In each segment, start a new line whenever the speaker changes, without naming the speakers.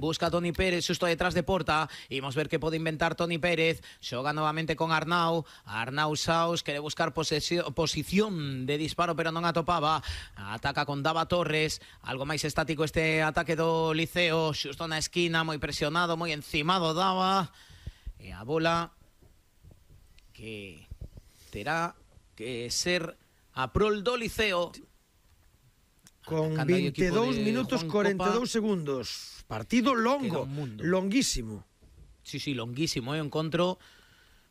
Busca Toni Pérez xusto detrás de porta. Imos ver que pode inventar Toni Pérez. Xoga novamente con Arnau. Arnau Saus quere buscar posición de disparo, pero non atopaba. Ataca con Dava Torres. Algo máis estático este ataque do Liceo. Xusto na esquina, moi presionado, moi encimado Dava. E a bola que terá que ser a prol do Liceo.
Con 22 minutos 42 segundos. Partido longo, longuísimo.
Sí, longuísimo, encontro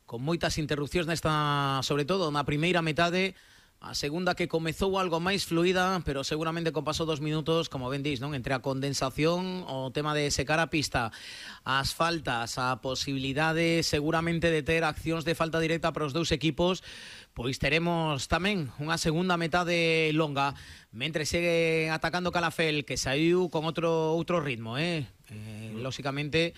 con moitas interrupcións nesta, sobre todo na primeira metade. A segunda que comezou algo máis fluida, pero seguramente con paso 2 minutos, como ben dís, non? Entre a condensación, o tema de secar a pista, as faltas, a posibilidade seguramente de ter accións de falta directa para os dous equipos, pois teremos tamén unha segunda metade longa, mentre segue atacando Calafell, que saiu con outro ritmo, lóxicamente,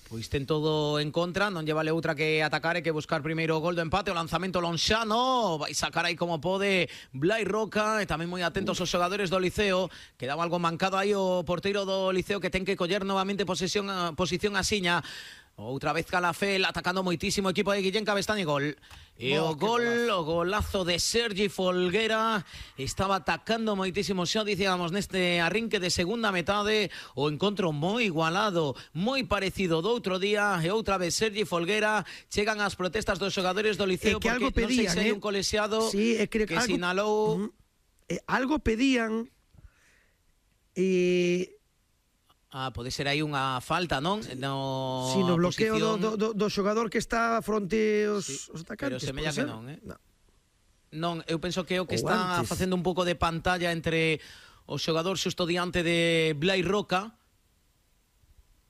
pois ten todo en contra, non lle vale outra que atacar e que buscar primeiro o gol do empate. O lanzamento lonxano, vai sacar aí como pode Blai Roca, e tamén moi atentos os xogadores do Liceo. Quedaba algo mancado aí o porteiro do Liceo, que ten que coller novamente posición a Siña. Outra vez Calafell atacando moitísimo o equipo de Guillén Cabestany. Gol. E o golazo de Sergi Folguera. Estaba atacando moitísimo, xa dicíamos, neste arrinque de segunda metade. O encontro moi igualado, moi parecido do outro día. E outra vez Sergi Folguera. Chegan as protestas dos xogadores do Liceo,
que
porque non sei se hai un colexiado que sinalou...
Algo pedían e...
pode ser aí unha falta, non?
Si, no bloqueo do xogador que está fronte aos atacantes.
Pero semella que non, Non, eu penso que é o que está facendo un pouco de pantalla entre o xogador xusto diante de Blai Roca.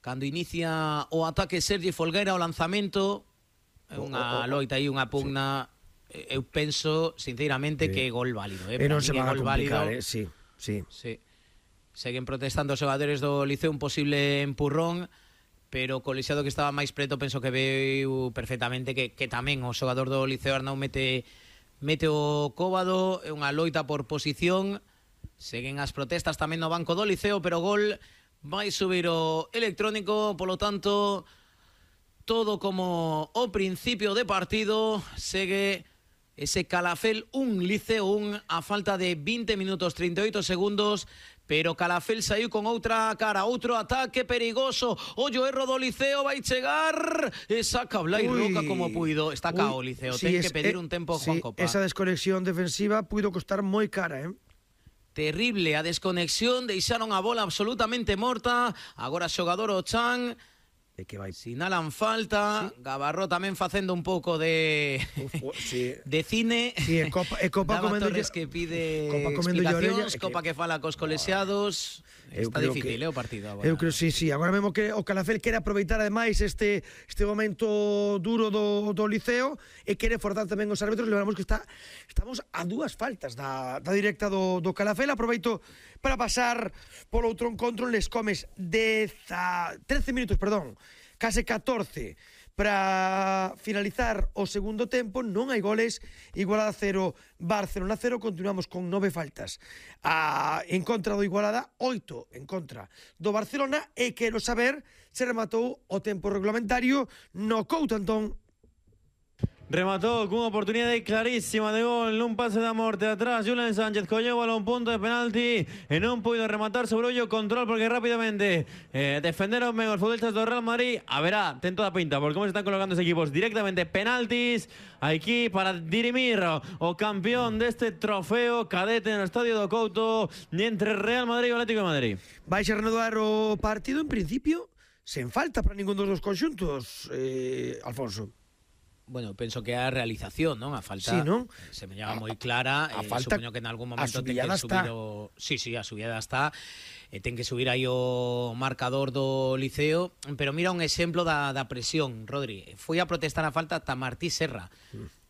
Cando inicia o ataque Sergi Folguera, o lanzamento, é unha loita aí, unha pugna. Eu penso, sinceramente, que é gol válido.
E non se van a complicar, sí.
Seguen protestando os xogadores do Liceo un posible empurrón, pero o colexiado que estaba máis preto penso que veu perfectamente que tamén o xogador do Liceo Arnau mete o cóbado. É unha loita por posición. Seguen as protestas tamén no banco do Liceo, pero gol vai subir o electrónico. Polo tanto, todo como o principio de partido. Segue ese Calafell 1, Liceo 1, a falta de 20 minutos 38 segundos. Pero Calafell saiu con outra cara, outro ataque perigoso. Ollo, erro do Liceo, vai chegar e saca Blai Roca como puido. Está cao o Liceo, ten que pedir un tempo Juan Copa.
Esa desconexión defensiva puido costar moi cara,
Terrible a desconexión, deixaron a bola absolutamente morta. Agora xogador o Chan, sinalan falta. Gabarró tamén facendo un pouco de cine.
Copa
comendo Torres que pide explicacións, Copa que fala cos colexiados. Está difícil o partido agora.
Eu creo sí. Agora mesmo que o Calafell quere aproveitar ademais este momento duro do Liceo e quere forzar tamén os árbitros. Lembramos que estamos a 2 faltas da directa do Calafell. Aproveito para pasar polo outro encontro. Les comes 13 minutos, case 14 para finalizar o segundo tempo. Non hai goles, Igualada 0, Barcelona 0. Continuamos con 9 faltas en contra do Igualada, 8 en contra do Barcelona. E quero saber se rematou o tempo reglamentario no Couto-Antón.
Rematou cunha oportunidade clarísima de gol nun pase da morte atrás. Julen Sánchez colleu a un punto de penalti e non puido rematar sobre o control, porque rápidamente defenderon ben os futbolistas do Real Madrid. A verá, ten toda a pinta por como se están colocando os equipos. Directamente penaltis aquí para dirimir o campeón deste trofeo cadete no estadio do Couto entre Real Madrid e o Atlético de Madrid.
Vai a reanudar o partido en principio sen falta para ningún dos conxuntos, Alfonso.
Bueno, penso que a realización, non? A falta se me llama moi clara. Supoño que en algún momento ten que subir o... Sí, a subida está. Ten que subir aí o marcador do Liceo. Pero mira un exemplo da presión, Rodri. Foi a protestar a falta ata Martí Serra.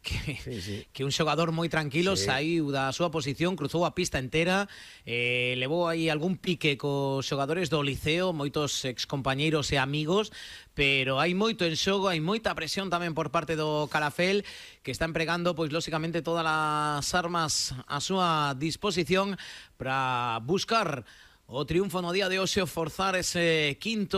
Que un xogador moi tranquilo saiu da súa posición, cruzou a pista entera, levou aí algún pique cos xogadores do Liceo, moitos excompañeiros e amigos, pero hai moito en xogo, hai moita presión tamén por parte do Calafell, que está empregando, pois, lóxicamente, todas as armas a súa disposición para buscar o triunfo no día de hoxe, forzar ese quinto